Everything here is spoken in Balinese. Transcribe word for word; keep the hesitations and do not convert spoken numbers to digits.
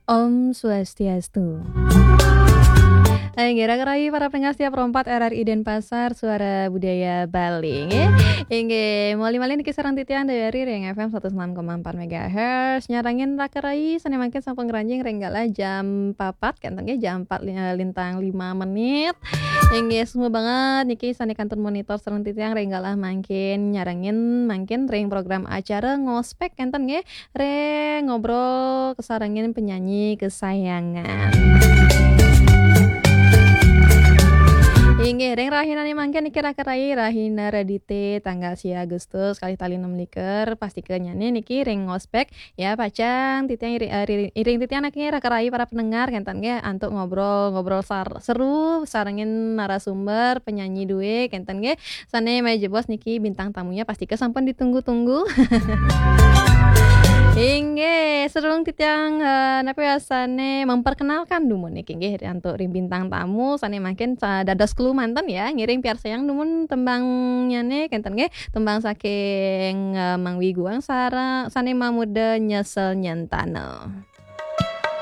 Om Swastiastu. Inggih, raka rayi para pendengar setia Pro empat R R I Denpasar, Suara Budaya Bali, nggih. Inggih, malih-malih niki sareng titiang Dayari ring F M satus enam koma empat megahertz. Nyarengin raka rayi sane mangkin sampun ngranjing ring galah jam papat, kenten nggih, jam empat li-, lintang lima menit. Inggih, suksma banget niki sane kantun monitor sareng titiang ring galah mangkin, nyarengin mangkin ring program acara Ngospek, kenten nggih. Ring ngobrol kasarengin penyanyi kesayangan. Inggih, ring rahinane mangkin niki raka rayi, rahina Redite, tanggal sia Agustus, kalih tali enam likur, pastika nyane niki ring Ngospek, ya, pacang titiang iri-, eh, ri-, iring titiang niki raka rayi para pendengar, kenten nggih, antuk ngobrol, ngobrol sar-, seru, sarengin narasumber, penyanyi duwe, kenten nggih. Sane malih jebos niki bintang tamunya pastika sampun ditunggu-tunggu. Inggih, sareng titiang, eh, napi wasane memperkenalkan dumun niki nggih antuk ring bintang tamu sane mangkin sa-, dados clue manten ya, ngiring piarsayang dumun tembangnyane kenten nggih, tembang saking, eh, Mang Wiguang sara-, sane mamurda Nyesel Nyentana.